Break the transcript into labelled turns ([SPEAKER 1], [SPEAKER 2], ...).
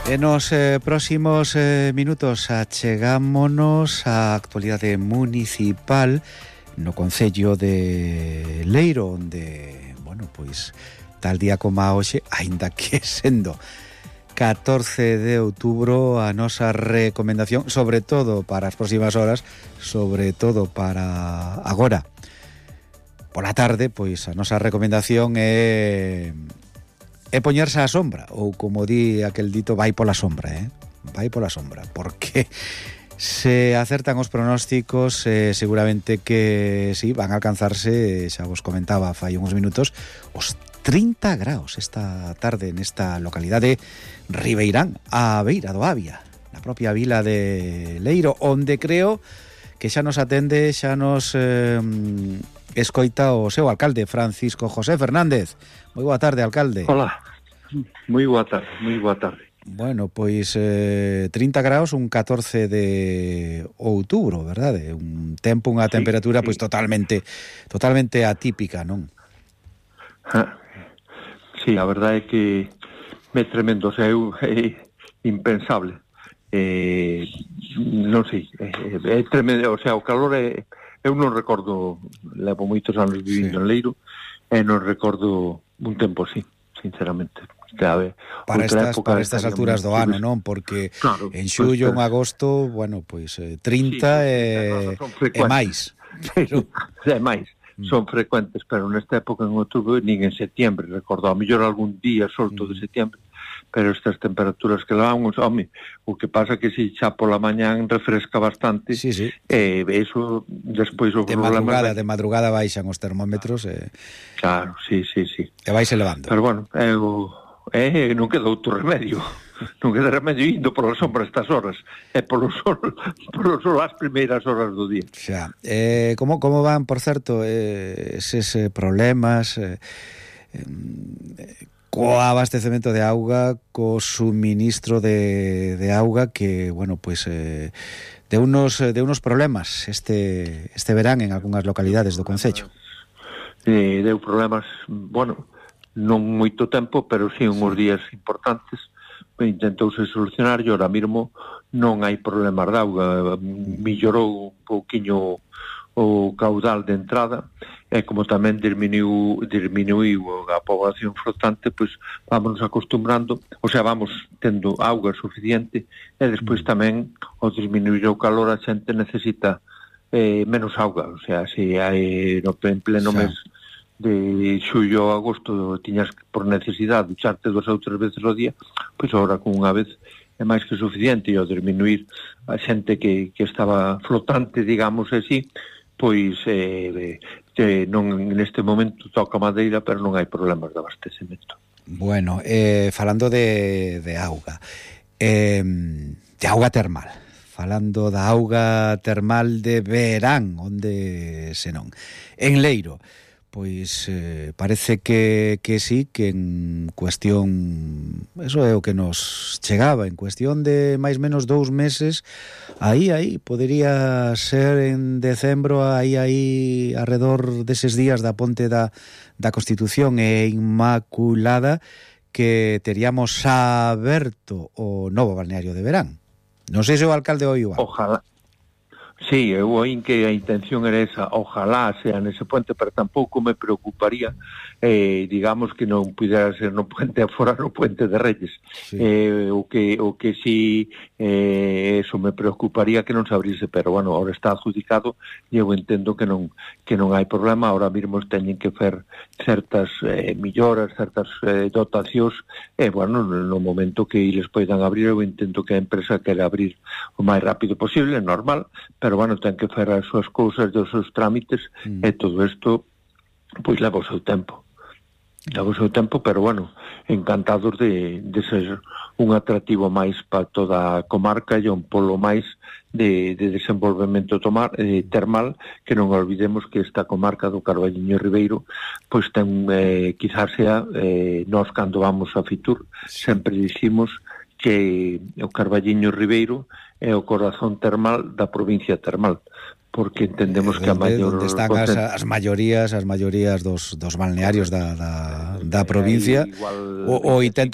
[SPEAKER 1] En os próximos minutos achegámonos á actualidade municipal no concello de Leiro, onde, bueno, pois tal día como a hoxe, aínda que sendo 14 de outubro, a nosa recomendación, sobre todo para as próximas horas, sobre todo para agora, pola tarde, pois a nosa recomendación é poñerse á sombra, ou como di aquel dito, vai pola sombra, vai pola sombra, porque se acertan os pronósticos, seguramente que sí, van a alcanzarse, xa vos comentaba fai uns minutos, os 30 graus esta tarde nesta localidade ribeirán, a beira do Avia, na propia vila de Leiro, onde creo que xa nos atende, xa nos escoita o seu alcalde, Francisco José Fernández. Moi boa tarde, alcalde.
[SPEAKER 2] Hola, moi boa tarde, moi boa tarde.
[SPEAKER 1] Bueno, pois 30 graus, un 14 de outubro, verdade? Un tempo, unha temperatura pois totalmente atípica, non?
[SPEAKER 2] Sí, a verdade é que é tremendo, o sea, é impensable. Non sei, é tremendo, o sea, o calor é... Eu non recordo, levo moitos anos vivindo en Leiro, e non recordo un tempo así, sinceramente.
[SPEAKER 1] Para estas alturas do ano, non? Porque claro, en xullo, en agosto, bueno, pois 30 é máis.
[SPEAKER 2] Pero é máis, son frecuentes, pero nesta época en outubro, nin en setembro, recordo, a mellor algún día solto de setembro, pero estas temperaturas que levamos, home, o que pasa que se xa pola mañán refresca bastante, eso despois o problema...
[SPEAKER 1] De madrugada baixan os termómetros,
[SPEAKER 2] Claro, sí.
[SPEAKER 1] E vais elevando.
[SPEAKER 2] Pero bueno, non queda outro remedio. Non queda remedio indo pola sombra estas horas. E polo sol as primeiras horas do día.
[SPEAKER 1] Xa. Como van, por certo, eses problemas co abastecemento de auga, co suministro de auga que, bueno, pois de unos problemas este verán en algunhas localidades do concello.
[SPEAKER 2] Deu problemas, bueno, non moito tempo, pero sí uns días importantes. Intentouse solucionar e ahora mesmo non hai problemas de auga. Mellorou un pouquiño o caudal de entrada e como tamén diminuiu a poboación flotante, pois vámonos acostumbrando, o sea, vamos tendo auga suficiente e despois tamén ao disminuir o calor a xente necesita menos auga, o sea, se hai no pleno mes de xullo a agosto tiñas por necesidade ducharte 2 ou 3 veces ao día, pois agora con unha vez é máis que suficiente, e ao disminuir a xente que estaba flotante, digamos así, pois non neste momento toca madeira, pero non hai problemas de abastecemento.
[SPEAKER 1] Bueno, falando de auga, de auga termal, falando da auga termal de verán, onde senón, en Leiro, pois parece que sí, que en cuestión, eso é o que nos chegaba, en cuestión de máis menos 2 meses, aí, podería ser en decembro, aí arredor deses días da ponte da Constitución e Inmaculada, que teríamos aberto o novo balneario de verán. Non sei se o alcalde o igual.
[SPEAKER 2] Ojalá. Sí, eu oín que a intención era esa, ojalá sea nese puente, pero tampouco me preocuparía, digamos que non pudera ser no puente afora, no puente de Reyes. O que sí, eso me preocuparía que non se abrise, pero bueno, ahora está adjudicado e eu entendo que non hai problema, ahora mesmo teñen que fer certas melloras, certas dotacións, e bueno, no momento que eles poidan abrir, eu entendo que a empresa quere abrir o máis rápido posible, normal, pero bueno, ten que fer as súas cousas, os seus trámites, e todo isto pois leva o seu tempo, pero bueno, encantados de ser un atractivo máis para toda a comarca e un polo máis de desenvolvemento termal, que non olvidemos que esta comarca do Carballiño Ribeiro pois ten, quizás sea, nós cando vamos a Fitur sempre dicimos que o Carballiño Ribeiro é o corazón termal da provincia termal, porque entendemos que a maior...
[SPEAKER 1] Onde están as maiorías dos balnearios da provincia, o 80%,